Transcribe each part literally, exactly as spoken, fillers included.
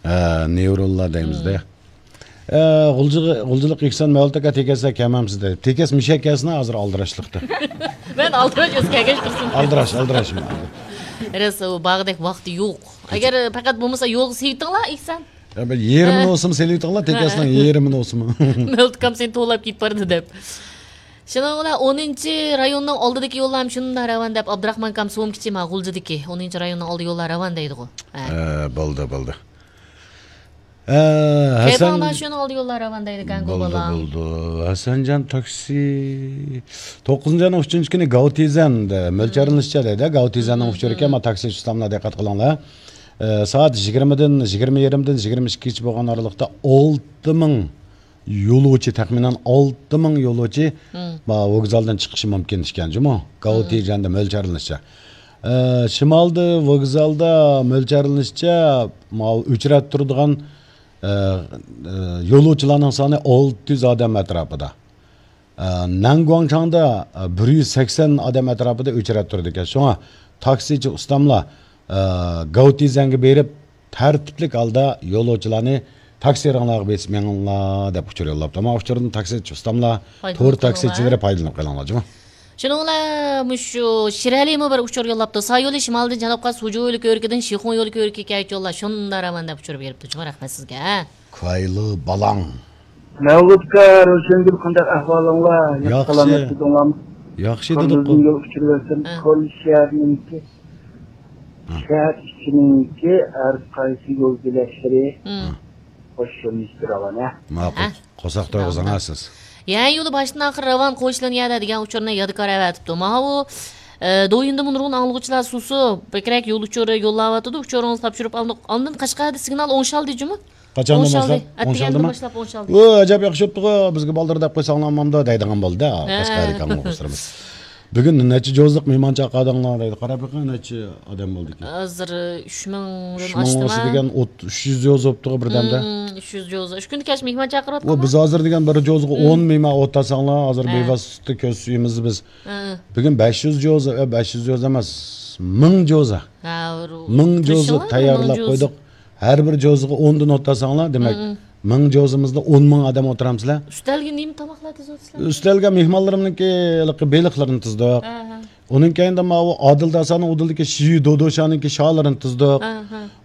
ھە، نېۋرونلار دەيمىز-دە. ئە، غۇلجىغا-، غۇلجىلىق ئېھسان مەۋلۇت ئاكا تېكەستە كەلمەمسىز دەيدۇ. تېكەس مۇشەك كەلسىن ھازىر ئالدىراشلىقتا. مەن ئالدىراش ئۆزى كەلگەچ تۇرسۇن. ئالدىراش، ئالدىراش. راست، ئۇ باغدەك ۋاقتى يوق. ئەگەر پەقەت بولمىسا يولغا سېلىۋېتىڭلار ئېھسان. يا، بىر يېرىمىنى ھە. بولسىمۇ سېلىۋېتىڭلار، ھە. تېكەسنىڭ يېرىمىنى بولسىمۇ. مەۋلۇت ئاكام سېنى توۋلاپ كېتىپ بارىدۇ دەپ. شۇنىڭ بىلەن ئونىنچى رايوننىڭ ئالدىدىكى يوللار ھەم شۇنداق راۋان دەپ، ئابدۇراخمان ئاكام سومكىچى ما غۇلجىدىكى ئونىنچى رايوننىڭ ئالدى يوللار راۋان دەيدىغۇ. ھە. ھە، بولدى، بولدى. ھە، ھەسەن كەيپاڭدا شۇنىڭ ئالدى يوللار راۋان دەيدىكەنغۇ بولدى، بالا. بولدى. ھەسەنجان تاكسى. توققۇزىنچى ئاينىڭ ئۈچىنچى كۈنى گاۋتىزەندە مۆلچەرلىنىشىچە دەيدۇ. گاۋتىزەننىڭ ئۇچۇرىكەن، ما تاكسى ئۇستاملار دىققەت قىلىڭلار. ئە، سائەت يىگىرمىدىن، يىگىرمە يېرىمدىن يىگىرمە ئىككىگىچە بولغان ئارىلىقتا ئالتە مىڭ يولۇچى، تەخمىنەن ئالتە مىڭ يولۇچى، مم. ما، ۋوگزالدىن چىقىشى مۇمكىن ئىكەن جۇمۇ. گاۋتىجەندە مۆلچەرلىنىشىچە. ئە، شىمالدا ۋوگزالدا مۆلچەرلىنىشىچە، ماۋۇ ئۆچرەتتە تۇرىدىغان، ئە، ئە، يولۇچىلارنىڭ سانى ئالتە يۈز ئادەم ئەتراپىدا. ئە، نەنگۇاڭچاڭدا، ئە، بىر يۈز سەكسەن ئادەم ئەتراپىدا ئۆچرەتتە تۇرىدىكەن. شۇڭا تاكسىچى ئۇستاملار، ئە، گاۋتىزەنگە بېرىپ، تەرتىپلىك ھالدا يولۇچىلارنى تاكسىلىرىڭلارغا بېسىپ مېڭىڭلار دەپ ئۇچۇر يوللاپتۇ. مانا ئۇچۇردىن تاكسىچى ئۇستاملار، تور تاكسىچىلىرى پايدىلىنىپ قېلىڭلار جۇمۇ. شۇنىڭ بىلەن مۇشۇ شىرئەلىمۇ بىر ئۇچۇر يوللاپتۇ. سا يولى شىمالدىن جەنۇبقا سۇجۇ يولى كۆۋرۈكىدىن شىخۇڭ يولى كۆۋرۈكىگە كەچ يوللار شۇنداق راۋان دەپ ئۇچۇر بېرىپتۇ جۇمۇ. رەھمەت سىزگە. كايلى بالاڭ. مەۋلۇتكا، روشەنگۈل، قانداق ئەھۋالىڭلار؟ ياخشى. سالامەت تۇردۇڭلارمۇ؟ ياخشى دېدۇققۇ. يول ئۇچۇرۇۋەتسەم، ھە. كورلىشىيەرنىڭكى، ھە. شەھەر ئىچىنىڭكى ھەر قايسى يول بۆلەكلىرى، ھە. خوش يۆنىلىشتە راۋان، ھە. ماقۇل. ھە. قورساق تويغۇزۇڭ، ھە، سىز. يەنى يولى باشتىن ئاخىر راۋان قويۇشلىنىۋاتىدۇ دېگەن ئۇچۇرنى يادكار ئەۋەتىپتۇ. ماۋۇ، ئە، دويىندا مۇنۇرغۇن ئاڭلىغۇچىلار سۇسۇ، بەكرەك يول ئۇچۇرى يوللاۋاتىدۇ، ئۇچۇرىڭىزنى تاپشۇرۇپ ئالدۇق. ئاندىن قەشقەردە سىگنال ئوڭشالدى جۇمۇ؟ قاچاندىن باشلاپ؟ ئوڭشالدى. ئەتىگەندىن باشلاپ ئوڭشالدى. ئۇ ئەجەب ياخشى بوپتىغۇ، بىزگە بالدۇر دەپ قويساڭلارمۇ دەيدىغان بولدى. ھە. قەشقەردىكى ئاڭلىغۇچىلىرىمىز. بۈگۈن نەچچە جوزىلىق مېھمان چاقىردىڭلار دەيدۇ. قاراپ بېقىڭ، نەچچە ئادەم بولدىكەن. ھازىر ئۈچ مىڭدىن ئۈچ مىڭ ئاشتىما؟ دېگەن ئوت-، ئۈچ يۈز جوزا بوپتىغۇ بىردەمدە. ھىم، ئۈچ يۈز جوزا. ئۈچ كۈندە كەچ مېھمان چاقىرىۋاتقان. بىز ھازىر دېگەن بىر جوزىغا ئون مېھمان ئولتۇرساڭلار، ھازىر بىۋاسىتە كۆز سۈيىمىزنى بىز. ھە. بۈگۈن بەش يۈز جوزا، ئە، بەش يۈز جوزا ئەمەس، مىڭ جوزا. ھە، مىڭ جوزا تەييارلاپ قويدۇق. ھەر بىر جوزىغا ئوندىن ئولتۇرساڭلار، دېمەك، مىڭ جوزىمىزدا ئون مىڭ ئادەم ئولتۇرامسىلەر. ئۈستەلگە نېمە تاماقلار تىزىۋاتىسىلەر؟ ئۈستەلگە مېھمانلىرىمنىڭكى ھېلىقى بېلىقلىرىنى تىزدۇق. ئۇنىڭ كەينىدىن ماۋۇ ئادىل داسانىڭ ئۇدۇلدىكى شىيۈ دودوشانىڭكى شالىرىنى تىزدۇق.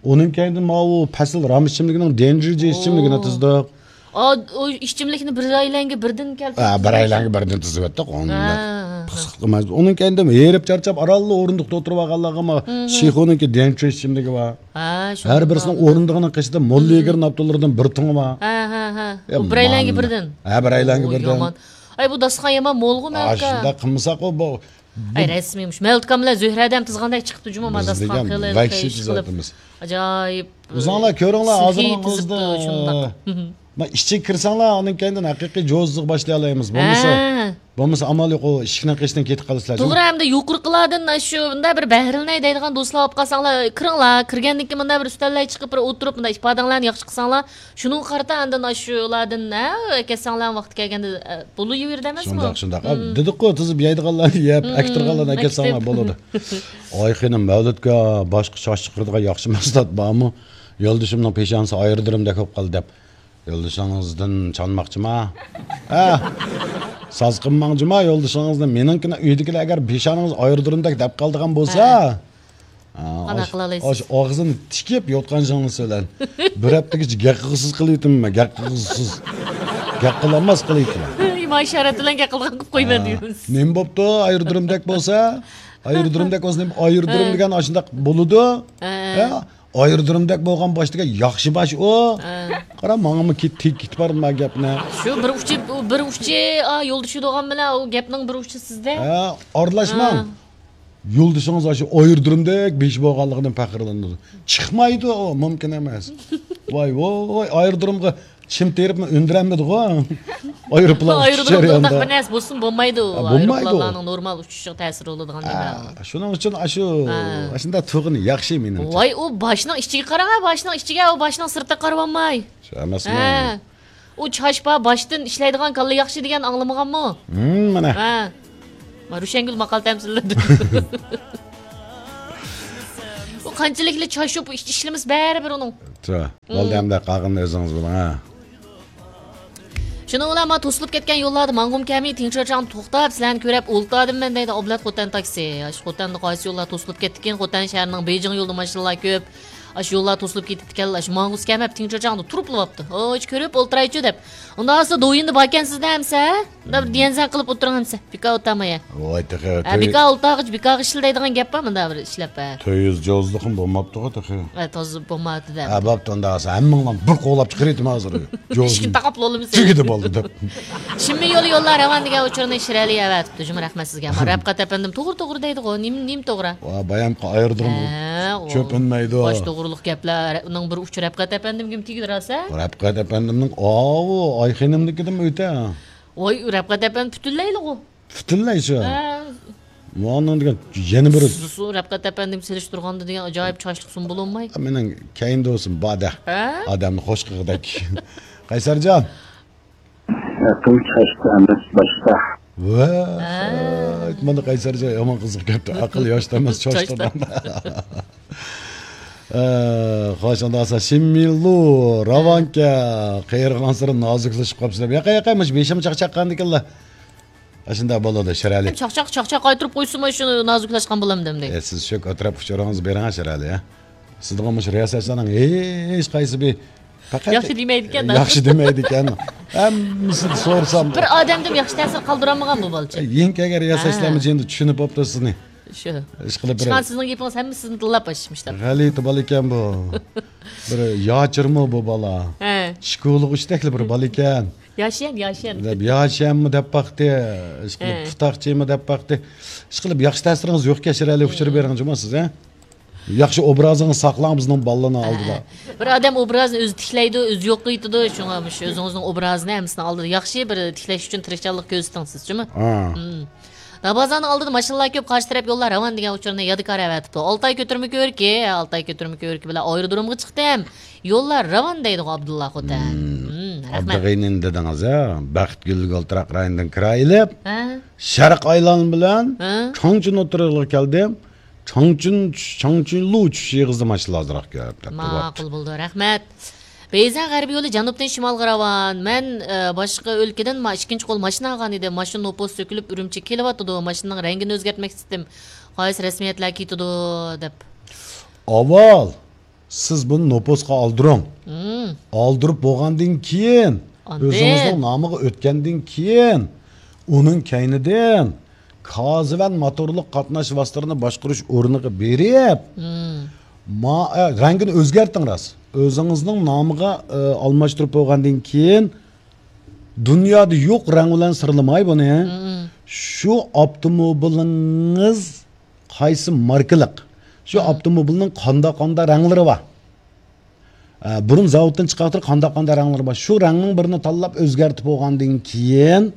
ئۇنىڭ كەينىدىن ماۋۇ پەسىل رام ئىچىملىكىنىڭ دېنجىجى ئىچىملىكىنى تىزدۇق. ئا، ئۇ ئىچىملىكنى بىرەيلەنگە بىردىن كەلتۈرۈپ ھە، بىرەيلەنگە بىردىن تىزىۋەتتۇق. ئۇنى ھە، ھە. پىخسىق قىلمايمىز. ئۇنىڭ كەينىدىن ھېرىپ چارچاپ ئارانلا ئورۇندۇقتا ئولتۇرۇۋالغانلارغا ما شىخۇنىڭكى دېنچۇ ئىچىملىكى بار. ھە، ھەر بىرسىنىڭ ئورۇندۇقىنىڭ قېشىدا موللا يېگىر ناپتۇلىرىدىن بىر تۇڭى بار. ھە، ھە، ھە. ئۇ بىرەيلەنگە بىردىن. ھە، بىرەيلەنگە بىردىن. يامان. ئاي، بۇ داستىخان يامان مولغۇ مەۋلۇت ئاكا. شۇنداق قىلمىساق، ئۇ بۇ ئاي، رەسمىيمىش. مەۋلۇت ئاكام بىلەن زۆھرەدە ھەم تىزغاندەك چىقىپتۇ جۇمۇ، ما داستىخان قىلىپ، ۋەھشىي تىزىۋاتىمىز. ئاجايىپ. ئۆزۈڭلار كۆرۈڭلار، ھازىرنىڭ ئۆزىدە. ما ئىچىگە كىرسەڭلار، ئاندىن كېيىندىن ھەقىقىي جوزىغا باشلايالايمىز. بولمىسا، ھە. بولمىسا ئامال يوق، ئۇ ئىشىكنىڭ قېشىدىن كېتىپ قالىسىلەر. توغرا، ئەمدى يۇقىرىقىلاردىن شۇ مۇنداق بىر بەھرىلىنەي دەيدىغان دوستلار بولۇپ قالساڭلار، كىرىڭلار. كىرگەندىن كېيىن مۇنداق بىر ئۈستەللەي چىقىپ، بىر ئولتۇرۇپ، مۇنداق ئىپادەڭلارنى ياخشى قىلساڭلار، شۇنىڭغا قارىتا ئاندىن ئاشۇلادىن، ھە، ئەكەتسەڭلار ۋاقتى كەلگەندە، ئە، بولۇۋېرىدۇ ئەمەسمۇ؟ شۇنداق، شۇنداق. ئا، دېدۇققۇ، تىزىپ يەيدىغانلارنى يەپ، ئەكتىرغانلارنى ئەكەتسەڭلار بولىدۇ. ئاي خېنىم، مەۋلۇتكە باشقا چاچ چىقىرىدىغان ياخشى مەھسۇلات بارمۇ؟ يولدىشىمنىڭ پېشانىسى ئايرودرومدەك بولۇپ قالدى دەپ. يولدىشىڭىزدىن چانماقچىما؟ ھە؟ ساز قىلماڭچىما يولدىشىڭىزنى؟ مېنىڭكىنى ئۆيدىكىلەر ئەگەر پېشانىڭىز ئايرودرومدەك دەپ قالىدىغان بولسا، ھە. قانداق قىلالايسىز؟ ئاش-، ئاغزىنى تىكىپ يوتقان شىڭلىسى بىلەن بىر ھەپتىگىچە گەپ قىلغۇسىز قىلىۋېتىمەن، گەپ قىلغۇسىز. گەپ قىلالماس قىلىۋېتىمەن. ئىما ئىشارەت بىلەن گەپ قىلىدىغان قىلىپ قويىمەن دېيمىز. نېمە بوپتۇ؟ ئايرودرومدەك بولسا، ئايرودرومدەك بولسا نېمە؟ ئايرودروم دېگەن ئاشۇنداق بولىدۇ. ھە. ئايرودرومدەك بولغان باش دېگەن ياخشى باش ئۇ. ھە. قارا، ماڭىمۇ كېتىپ بارىدۇ ما گەپنى. شۇ بىر ئۇچى، بىر ئۇچى، ئا، يولدىشى بولغان بىلەن ئۇ گەپنىڭ بىر ئۇچى سىزدە. ھە، ئارىلاشماڭ. ھە. يولدىشىڭىز ئاشۇ ئايرودرومدەك بېشى بولغانلىقىدىن پەخىرلىنىدۇ. چىقمايدۇ ئۇ، مۇمكىن ئەمەس. ۋاي، ۋوي، ئايرودرومغا چىم تېرىپمۇ ئۈندۈرەلمىدىغۇ. ئايروپىلان ئۇچۇش ئايرودرومدا جەريانىدا. ئۇنداق بىر نەرسە بولسۇنمۇ بولمايدۇ. ھە، بولمايدۇ. ئايروپىلانلارنىڭ نورمال ئۇچۇشىغا تەسىر بولىدىغان نېمە. ھە، شۇنىڭ ئۈچۈن ئاشۇ، ھە. ئاشۇنداق تۇرغىنى ياخشى مېنىڭچە. ۋاي، ئۇ باشنىڭ ئىچىگە قاراڭ، باشنىڭ ئىچىگە، ئۇ باشنىڭ سىرتىغا قارىۋالماي. شۇ ئەمەسمۇ؟ ھە. ئۇ چاچ بار، باشتىن ئىشلەيدىغان كاللا ياخشى دېگەن ئاڭلىمىغانمۇ؟ ھىم، مانا. ھە. ما روشەنگۈل ماقال تەمسىللىدى. ئۇ قانچىلىكلا چاي شۇ ئىش-، ئىشلىمىسە بەرىبىر ئۇنىڭ. چا، بولدى، ئەمدى قالغىنىنى ئۆزىڭىز بىلىڭ، ھە. شۇنىڭ بىلەن ما توسۇلۇپ كەتكەن يوللاردا ماڭغۇم كەلمەي، تىڭچىچاڭ توختاپ، سىلەرنى كۆرۈپ ئولتۇردۇم مەن دەيدۇ ئابلەت خوتەن تاكسى. ئاشۇ خوتەندە قايسى يوللار توسۇلۇپ كەتتىكىن، خوتەن شەھىرىنىڭ بېيجىڭ يولىدا ماشىنىلار كۆپ. ئاشۇ يوللار توسۇلۇپ كېتىپتىكەن، ئاشۇ ماڭغۇسى كەلمەپتۇ، تىڭچىچاڭدا تۇرۇپلا بوپتۇ. ھوي، كۆرۈپ ئولتۇرايچۇ دەپ. ئۇنداق بولسا دويىندا باركەنسىز دە ئەمسە. مۇنداق بىر دىيەنسەن قىلىپ ئولتۇرۇڭ ئەمسە. بىكار ئولتۇرماي. ۋاي، تېخى ھە، تۆ-، بىكار ئولتۇرغۇچ بىكارغا ئىشلەيدىغان گەپ بار مۇنداق بىر ئىشلەپ، ھە. تۆت يۈز جوزلۇقۇم بولماپتىغۇ تېخى. ھە، تازا بولماپتۇ دە. ھە، بوپتۇ، ئۇنداق بولسا ھەممىڭلارنى بىر قوغلاپ چىقىرىۋېتىمەن ھازىر. ئىشىكنى تاقاپ بولدىمىز. تۈگىدى بولدى دەپ. شىنمىڭ يولى يوللار راۋان دېگەن ئۇچۇرنى شىرئەلى ئەۋەتىپتۇ. جۇمۇ رەھمەت سىزگە. ئەمما رەپقەت ئەپەندىم توغرا توغرا دەيدىغۇ. نېمە، نېمە توغرا؟ ۋا، بايام ئايرىدىغان ھە، چۆپ ئۈنمەيدۇ. باش توغرىلىق گەپلەر. ئۇنىڭ بىر ئۇچى رەپقەت ئەپەندىمگىمۇ تېگىدۇ راسا. رەپقەت ئەپەندىمنىڭ ئاۋۇ ئايخېنىمنىڭكىدىنمۇ ئۆتە. ۋاي، رەپقەت ئەپەندى پۈتۈنلەيلىغۇ. پۈتۈنلەي شۇ. ھە. مۇئانىڭ دېگەن يەنە بىرى. سۇ، سۇ، رەپقەت ئەپەندىم سېلىشتۇرغاندا دېگەن ئاجايىپ چاچلىق سۇم بولۇنماي. مېنىڭ كەينىدە بولسۇن، بادە. ھە؟ ئادەمنى خوش قىلغۇدەك. قەيسەرجان. ئەقىل چاچتا ئەمەس، باشتا. ۋە، ھە. مانا قەيسەرجان يامان قىزىق گەپتۇ. ئەقىل ياشتا ئەمەس، چاچتا. چاچتا. ئە، خوش، ئۇنداق بولسا، شىنمىلۇ، راۋانكە، قېرىغانسېرى نازۇكلىشىپ قاپسىلەر. ياقا، ياقا، مۇشۇ بېشىم چاقچاق قىلغاندىكىنلا. ئاشۇنداق بولىدۇ، شىرئەلى. چاقچاق، چاقچاق قايتۇرۇپ قويسىمۇ شۇ نازۇكلاشقان بولامدۇ ئەمدى؟ ئە، سىز شۇ ئەتراپ ئۇچۇرىڭىزنى بېرىڭ، شىرئەلى، ھە. سىزدىغان مۇشۇ رىياسەتچىلەرنىڭ ھېچ قايسى بىر پەقەت ياخشى دېمەيدىكەن. ياخشى دېمەيدىكەن. ھەممىسىنى سورىسام، بىر ئادەمدىن ياخشى تەسىر قالدۇرالمىغان بۇ بالىچە. يېڭى كەلگەن رىياسەتچىلەرمۇ ھە. جېنىدا چۈشىنىپ بوپتۇ سىزنى. شۇ. ئىشقىلىپ بىر ئىشخانا سىزنىڭ گېپىڭىز ھەممىسى سىزنى تىللاپ باشلىمىشلار. غەلىتە بالا ئىكەن بۇ. بىر ياچۇرمۇ بۇ بالا. ھە. شكولىغا ئۈچتەكلا بىر بالا ئىكەن. ياشيەن، ياشيەن. دەپ ياشيەنمۇ دەپ باقتى. ئىشقىلىپ ھە. پۇتاقچىمۇ دەپ باقتى. ئىشقىلىپ ياخشى تەسىرىڭىز يوقكەن شىرئەلى ئۇچۇر بېرىڭ جۇمۇ سىز، ھە؟ ياخشى ئوبرازىڭىزنى ساقلاڭ بىزنىڭ بالىلارنىڭ ھە. ئالدىدا. بىر ئادەم ئوبرازىنى ئۆزى تىكلەيدۇ، ئۆزى يوقىتىدۇ. شۇڭا مۇشۇ ئۆزىڭىزنىڭ ئوبرازىنى ھەممىسىنىڭ ئالدىدا ياخشى بىر تىكلەش ئۈچۈن تىرىشچانلىق كۆرسىتىڭ سىز جۇمۇ. ھە. مم. دابازانىڭ ئالدىدا ماشىنىلار كۆپ، قارشى تەرەپ يوللار راۋان دېگەن ئۇچۇرنى يادىكار ئەۋەتىپتۇ. ئالتاي كۆتۈرمە كۆۋرۈكى، ئالتاي كۆتۈرمە كۆۋرۈكى بىلەن ئايرودرومغا چىقتىم. يوللار راۋان دەيدىغۇ ئابدۇللا خوتەن. مم. مم، رەھمەت. ئابدۇغېنىنى دېدىڭىز، ھە؟ بەختىيارلىق ئولتۇراق رايونىدىن كىرا ئېلىپ، ھە؟ شەرق ئايلان بىلەن ھە؟ چاڭچۈن ئوتتۇرىغا كەلدىم. چاڭچۈن، چاڭچۈنلۇ چۈشۈش ئېغىزىدا ماشىنىلار ئازراق كۆپ دەپتۇ. ماقۇل بولدى، رەھمەت. بېيزەن غەربىي يولى جەنۇبتىن شىمالغا راۋان. مەن، ئە، باشقا ئۆلكىدىن ما-، ئىككىنچى قول ماشىنا ئالغان ئىدىم. ماشىنا نوپۇس سۆكۈلۈپ ئۈرۈمچىگە كېلىۋاتىدۇ. ماشىنىنىڭ رەڭگىنى ئۆزگەرتمەك ئىستىدىم. قايسى رەسمىيەتلەر كېتىدۇ دەپ. ئاۋۋال سىز بۇنى نوپۇسقا ئالدۇرۇڭ. مم. ئالدۇرۇپ بولغاندىن كېيىن، ئاندىن ئۆزىڭىزنىڭ نامىغا ئۆتكەندىن كېيىن، ئۇنىڭ كەينىدىن كازىۋەن موتورلۇق قاتناش ۋاسىتىلىرىنى باشقۇرۇش ئورنىغا بېرىپ، مم. ما-، ئە، رەڭگىنى ئۆزگەرتىڭ راست. ئۆزىڭىزنىڭ نامىغا، ئە، ئالماشتۇرۇپ بولغاندىن كېيىن، دۇنيادا يوق رەڭ بىلەن سىرلىماي بۇنى. مم. شۇ ئاپتوموبىلىڭىز قايسى ماركىلىق؟ شۇ مم. ئاپتوموبىلنىڭ قانداق قانداق رەڭلىرى بار؟ ئە، بۇرۇن زاۋۇتتىن چىقىۋاتىدۇ، قانداق قانداق رەڭلىرى بار؟ شۇ رەڭنىڭ بىرىنى تاللاپ ئۆزگەرتىپ بولغاندىن كېيىن،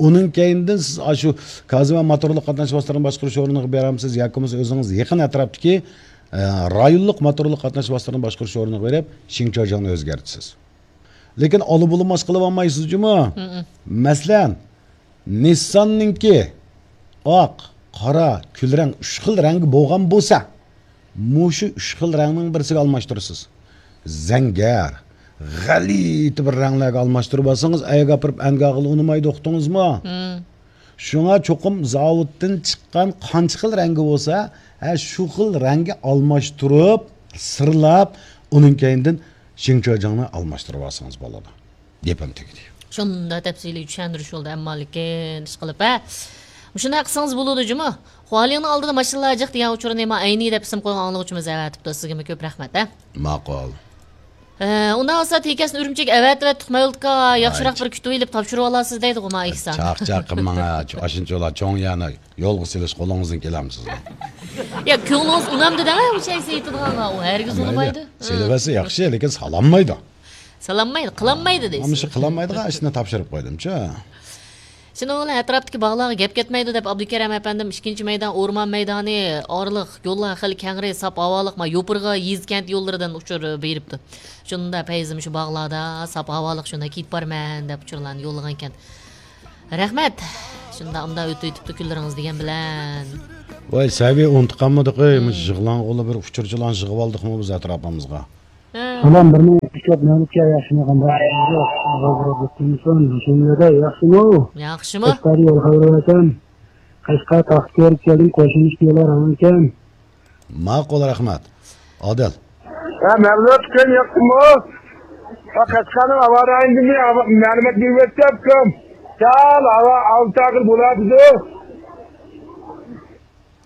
ئۇنىڭ كەينىدىن سىز ئاشۇ كازىۋەن موتورلۇق قاتناش ۋاسىتىلىرىنى باشقۇرۇش ئورنىغا بېرەمسىز ياكى بولمىسا ئۆزىڭىز يېقىن ئەتراپتىكى، ئە، رايونلۇق موتورلۇق قاتناش ۋاسىتىلىرىنى باشقۇرۇش ئورنىغا بېرىپ شىڭچاجاڭنى ئۆزگەرتىسىز. لېكىن ئالا بۇلا ماس قىلىۋالمايسىزجۇمۇ؟ مم. مەسىلەن، نىسساننىڭكى ئاق، قارا، كۈل رەڭ، ئۈچ خىل رەڭگە بولغان بولسا، مۇشۇ ئۈچ خىل رەڭنىڭ بىرسىگە ئالماشتۇرىسىز. زەڭگەر، غەلىتە بىر رەڭلەرگە ئالماشتۇرۇپ ئالسىڭىز، ئەيگە ئاپىرىپ ئەنگە ئالغىلى ئۇنىمايدۇ، ئۇقتىڭىزمۇ؟ مم. شۇڭا چوقۇم زاۋۇتتىن چىققان قانچە خىل رەڭگى بولسا، ھە، شۇ خىل رەڭگە ئالماشتۇرۇپ، سىرلاپ، ئۇنىڭ كەينىدىن شىڭچاجاڭنى ئالماشتۇرۇپ ئالسىڭىز بولىدۇ. گېپىم تۈگىدى. شۇنداق تەپسىلىي چۈشەندۈرۈش بولدى، ئەمما لېكىن ئىشقىلىپ، ھە. مۇشۇنداق قىلسىڭىز بولىدۇ جۇمۇ. خۇالىڭنىڭ ئالدىدا ماشىنىلار جىق دېگەن ئۇچۇرنى ما ئەينى دەپ ئىسىم قويغان ئاڭلىغۇچىمىز ئەۋەتىپتۇ. سىزگىمۇ كۆپ رەھمەت، ھە. ماقۇل. ئە، ئۇنداق بولسا تېكەسنى ئۈرۈمچىگە ئەۋەتىۋەتتۇق، مەۋلۇتكا ياخشىراق بىر كۈتۈۋېلىپ تاپشۇرۇۋالارسىز دەيدىغۇ ما ئېھسان. چاقچاق قىلماڭ، ھە، شۇ ئاشۇنچىلا چوڭ يەرنى يولغا سېلىش قولىڭىزدىن كېلەمسىز؟ يا، كۆڭلىڭىز ئۇنامدۇ دەڭ، ئۇ شەخس ئېيتىدىغانغا، ئۇ ھەرگىز ئۇنىمايدۇ. سېلىۋەتسە ياخشى، لېكىن سالالمايدۇ. سالالمايدۇ، قىلالمايدۇ دەيسىز. مانا شۇ قىلالمايدىغان ئىشنى تاپشۇرۇپ قويدۇمچۇ. شۇنىڭ بىلەن ئەتراپتىكى باغلارغا گەپ كەتمەيدۇ دەپ، ئابدۇكېرەم ئەپەندىم ئىككىنچى مەيدان، ئورمان مەيدانى ئارىلىق يوللار خېلى كەڭرى، ساپ ھاۋالىق، ما يوپۇرغا، يېزا، كەنت يوللىرىدىن ئۇچۇر بېرىپتۇ. شۇندا پەيزىم شۇ باغلاردا ساپ ھاۋالىق شۇندا كېتىپ بارىمەن دەپ ئۇچۇرلارنى يوللىغانىكەن. رەھمەت. شۇندا ئۇندا ئۆتۈۋېتىپتۇ كۈنلىرىڭىز دېگەن بىلەن. ۋاي، سەۋىيە ئۇنتۇپ قالمىدۇق، ئەي، مۇشۇ يىغلاڭغۇلا بىر ئۇچۇرچىلارنى يىغىۋالدۇقمۇ بىز ئەتراپىمىزغا؟ ھە. سالام، بىر مىنۇت ئىشلەپ مەملىكە ياخشىمۇ قانداق؟ ياخشىمۇ؟ ياخشىمۇ؟ قەشقەر يول خەۋىرى ۋەتەن. قەشقەر تاختىكەرگە كەلدىم، قوشۇلۇش يولى راۋانكەن. ماقۇل، رەھمەت. ئادىل. ھە، مەملۇت، كۈن ياقتىمۇ؟ ھە، قەشقەرنىڭ ھاۋا رايىنىدىن مەلۇمات بېرىۋەتسە، ئۇكام. سەل ھاۋا ئالتە ئاقىل بولاتىدۇ.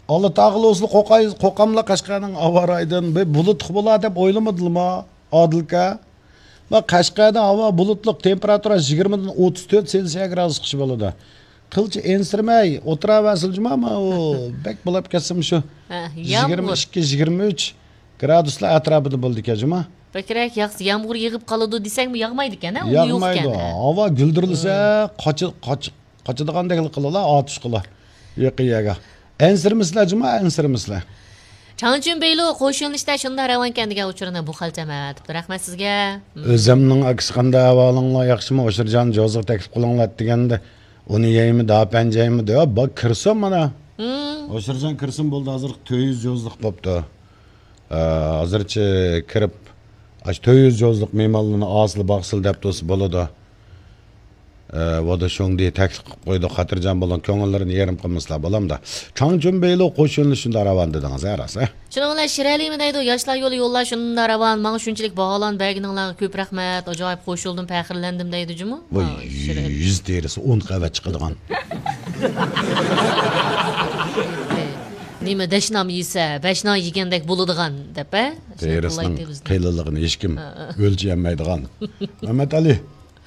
ئاللا تاغىلا ئۇسۇل قوقاي-، قوقاملا قەشقەرنىڭ ھاۋا رايىدىن بىر بۇلۇتلۇق بولا دەپ ئويلىمىدىلىما، ئادىلكا؟ ما قەشقەردە ھاۋا بۇلۇتلۇق، تېمپېراتۇرا يىگىرمىدىن ئوتتۇز تۆت سېلسىيە گرادۇسقىچە بولىدۇ. قىلچە ئەنسىرىمەي ئولتۇراۋەرسىلە جۇما، ما ئۇ بەك بولاپ كەتسىمۇ شۇ ھە، يىگىرمە ئىككى، يىگىرمە ئۈچ گرادۇسلار ئەتراپىدا بولىدىكەن جۇما. بەكرەك ياغسا يامغۇر يېغىپ قالىدۇ دېسەڭمۇ ياغمايدىكەن، ھە؟ ئۇ ياغمايدۇ. يوقكەن، ھە؟ ھاۋا گۈلدۈرلىسە، قاچا-، قاچا-، قاچىدىغاندەكلا قىلىلا، ئاتۇشقىلا. يېقىن يەرگە. ئەنسىرىمىسىلە جۇما، ئەنسىرىمىسىلە. چاڭچۈن بېيلۇ قوش يۆنىلىشتە شۇنداق راۋانكەن دېگەن ئۇچۇرنى بۇ خەلچەم ئەۋەتىپتۇ. رەھمەت سىزگە. ئۆزەمنىڭ ئاكىسى، قانداق ئەھۋالىڭلار، ياخشىمۇ؟ ئوشۇرجان جوزىغا تەكلىپ قىلىڭلار دېگەندە، ئۇنى يەيمۇ، داپەنجەيمۇ دەپ، بار كىرسۇن مانا. ھىم. ئوشۇرجان كىرسۇن بولدى، ھازىر تۆت يۈز جوزلۇق بوپتۇ. ئە، ھازىرچە كىرىپ، ئاشۇ تۆت يۈز جوزلۇق مېھمانلارنى ئاسىل باقسىل دەپ تۇرسا بولىدۇ. ئە، ۋادا شۇڭدى تەكلىپ قىلىپ قويدۇق، خاتىرجەم بولۇڭ، كۆڭۈللىرىنى يېرىم قىلمىسىلا، بالامدا. چاڭچۈن بېيلۇ قوش يۆنىلىش شۇنداق راۋان دېدىڭىز، ھە، راست، ھە؟ شۇنىڭ بىلەن شىرئەلىمۇ دەيدۇ، ياشلار يولى يوللار شۇنداق راۋان، ماڭا شۇنچىلىك باھالارنى بەرگىنىڭلارغا كۆپ رەھمەت، ئاجايىپ قوشۇلدۇم، پەخىرلەندىم دەيدۇ جۇمۇ. ۋاي، ھا، شىرئەلىم. يۈز تېرىسى ئون قەۋەت چىقىدىغان. نېمە، دەشنام يېسە، بەشنان يېگەندەك بولىدىغان دەپ، ھە؟ تېرىسىنىڭ قېلىنلىقىنى ھېچكىم ھە، ھە. ئۆلچىيەلمەيدىغان. مەمەت ئەلى.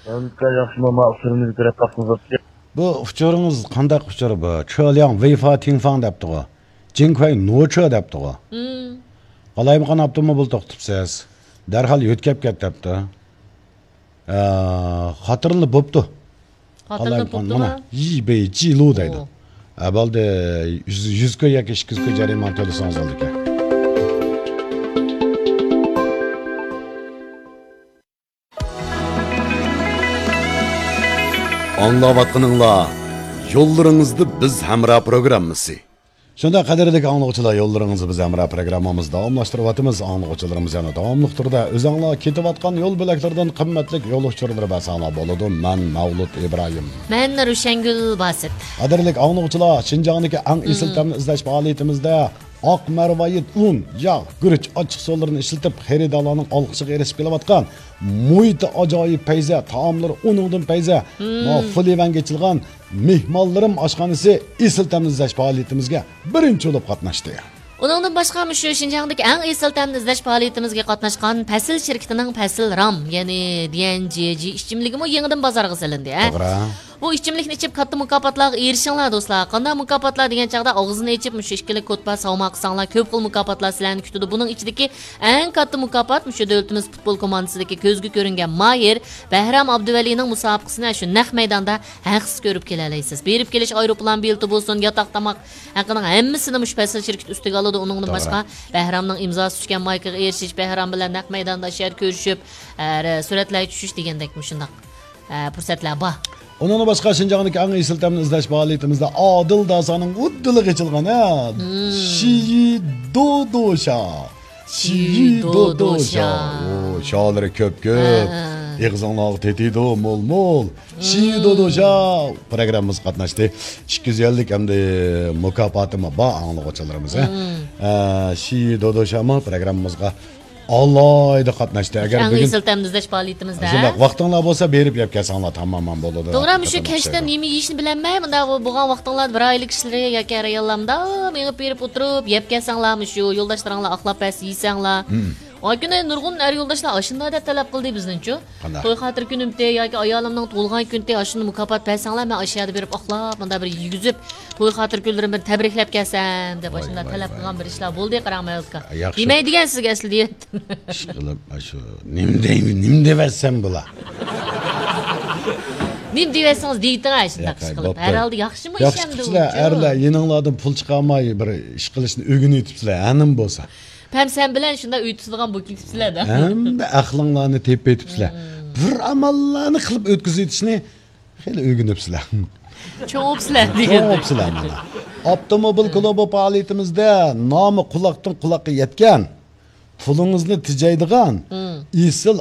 ئەمدى ياخشىمۇ، ما ئۇچۇرىمىزنى بىرەر تاپقىزىپ. بۇ ئۇچۇرىڭىز قانداق ئۇچۇر بۇ؟ چۆلياڭ ۋېيفا تىڭفاڭ دەپتىغۇ. جىڭكۇەي نوچۆ دەپتىغۇ. مم. قالايمىقان ئاپتوموبىل توختىتىپسىز. دەرھال يۆتكەپ كەت دەپتۇ. ئە، خاتىرىلا بوپتۇ. خاتىرىلا قالايمىقان بوپتۇ مانا، ما؟ يى بېي جى لۇ دەيدۇ. ئوھ. ئە، بولدى، يۈز، يۈز كوي ياكى ئىككى يۈز كوي جەرىمانە تۆلىسىڭىز بولىدىكەن. ئاڭلاۋاتقىنىڭلار يوللىرىڭىزدا بىز ھەمراھ پروگراممىسى. شۇنداق، قەدىرلىك ئاڭلىغۇچىلار، يوللىرىڭىزدا بىز ھەمراھ پروگراممىمىزنى داۋاملاشتۇرۇۋاتىمىز. ئاڭلىغۇچىلىرىمىز يەنە داۋاملىق تۈردە ئۆزۈڭلار كېتىۋاتقان يول بۆلەكلىرىدىن قىممەتلىك يول ئۇچۇرلىرى بەرسەڭلار بولىدۇ. مەن مەۋلۇت ئىبراھىم. مەن رۇشەنگۈل باسىت. قەدىرلىك ئاڭلىغۇچىلار، شىنجاڭدىكى ئەڭ ئېسىل مم. تەمنى ئىزدەش پائالىيىتىمىزدە ئاق مەرۋايىت ئۇن، ياغ، گۈرۈچ، ئاچچىقسۇلىرىنى ئىشلىتىپ، خېرىدارلارنىڭ ئالقىشىغا ئېرىشىپ كېلىۋاتقان مۇھىتى ئاجايىپ پەيزە، تائاملىرى ئۇنىڭدىن پەيزە، مم. ما فۇلىۋەنگە ئېچىلغان مېھمانلىرىم ئاشخانىسى ئېسىل تەمنى ئىزدەش پائالىيىتىمىزگە بىرىنچى بولۇپ قاتناشتى. ئۇنىڭدىن باشقا، مۇشۇ شىنجاڭدىكى ئەڭ ئېسىل تەمنى ئىزدەش پائالىيىتىمىزگە قاتناشقان پەسىل شىركىتىنىڭ پەسىل رام، يەنى دى ئېن جى جى ئىچىملىكىمۇ يېڭىدىن بازارغا سېلىندى، ھە؟ توغرا. بۇ ئىچىملىكنى ئىچىپ، كاتتا مۇكاپاتلارغا ئېرىشىڭلار، دوستلار. قانداق مۇكاپاتلار دېگەن چاغدا، ئاغزىنى ئېچىپ، مۇشۇ ئىككىلا كوتپا ساۋما قىلساڭلار، كۆپ خىل مۇكاپاتلار سىلەرنى كۈتىدۇ. بۇنىڭ ئىچىدىكى ئەڭ كاتتا مۇكاپات مۇشۇ دۆلىتىمىز پۇتبول كوماندىسىدىكى كۆزگە كۆرۈنگەن ماھىر بەھرام ئابدۇۋەلىنىڭ مۇسابىقىسىنى شۇ نەق مەيداندا ھەقسىز كۆرۈپ كېلەلەيسىز. بېرىپ كېلىش ئايروپىلان بېلىتى بولسۇن، ياتاق تاماق ھەققىنىڭ ھەممىسىنى مۇشۇ پەسىل شىركىتى ئۈستىگە ئالىدۇ. ئۇنىڭدىن توغرا. باشقا، بەھرامنىڭ ئىمزاسى چۈشكەن مايكىغا ئېرىشىش، بەھرام بىلەن نەق مەيداندا شۇ يەردە كۆرۈشۈپ، ھە، سۈرەتلەرگە چۈشۈش دېگەندەك مۇشۇنداق، ھە، پۇرسەتلەر بار. ئۇنىڭدىن باشقا، شىنجاڭدىكى ئەڭ ئېسىل تەمنى ئىزدەش پائالىيىتىمىزدە ئادىل داسانىڭ ئۇددىلىغا ئېچىلغان، ھە، مم. شىيى دودوشا. شىيى دودوشا. ئۇ شالىرى كۆپ-كۆپ. ھە. ئېغىزىڭلارغا تېتىيدۇ مول-مول. شىيى دودوشا پروگراممىمىزغا قاتناشتى. ئىككى يۈز ئەللىك ئەمدى مۇكاپاتىمۇ بار ئاڭلىغۇچىلىرىمىز، ھە. مم. ئە، شىيى دودوشامۇ پروگراممىمىزغا ئالاھىدە قاتناشتى. ئەگەر ئەڭ بۈگۈن ئېسىل تەمنى ئىزدەش پائالىيىتىمىزدە. شۇنداق ۋاقتىڭلار بولسا، بېرىپ يەپ كەلسەڭلار تامامەن بولىدۇ. توغرا، مۇشۇ كەچتە نېمە يېيىشنى بىلەلمەي، مۇنداق بولغان ۋاقتىڭلاردا بىر ئائىلە كىشىلىرى ياكى ئەر-ئاياللار مۇنداق مېڭىپ بېرىپ ئولتۇرۇپ، يەپ كەلسەڭلار، مۇشۇ يولداشلىرىڭلار ئاقلاپ بەرسە يېسەڭلار. مم. ئاي كۈنى نۇرغۇن ئەر يولداشلار ئاشۇنداق دەپ تەلەپ قىلدى بىزنىڭچۇ. قانداق؟ توي خاتىرە كۈنۈمتى ياكى ئايالىمنىڭ تۇغۇلغان كۈنىتى ئاشۇنداق مۇكاپات بەرسەڭلار، مەن ئاشۇ يەردە بېرىپ ئاقلاپ، مۇنداق بىر يېگۈزۈپ، توي خاتىرە كۈنلىرىمنى بىر تەبرىكلەپ كەلسەم دەپ ۋاي، ئاشۇنداق ۋاي، تەلەپ ۋاي، قىلغان بىر ۋاي. ئىشلار بولدى، قاراڭ مەۋلۇتكا. ياخشى. دېمەي دېگەن سىزگە ئەسلى دېيەتتىم. ئىشقىلىپ، ئاشۇ نېمە دەي-، نېمە دېۋەتسەم بۇلار؟ نېمە دېۋەتسىڭىز دېيىتىڭ، ئاشۇنداق ياق، ئىش قىلىپ. بوپتۇ. ھەر ھالدا ياخشىمۇ ياخشى ئىش ئەمدى قىپسىلەر، ئۇچۇ؟ ئەرلەر يېنىڭلاردىن پۇل چىقارماي بىر ئىش قىلىشنى ئۆگىنىۋېتىپسىلەر، ھەنىم بولسا. پەم سەن بىلەن شۇنداق ئۆي تۇتىدىغان بولۇپ كېتىپسىلەر-دە. ھەمدە ئەقلىڭلارنى تېپىۋېتىپسىلەر. مم. بىر ئاماللارنى قىلىپ ئۆتكۈزۈۋېتىشنى خېلى ئۆگىنىپسىلەر. چوڭ بوپسىلەر چوڭ بوپسىلەر مانا. ئاپتوموبىل كۇلۇبى پائالىيىتىمىزدە نامى قۇلاقتىن قۇلاققا يەتكەن، پۇلىڭىزنى تېجەيدىغان ئېسىل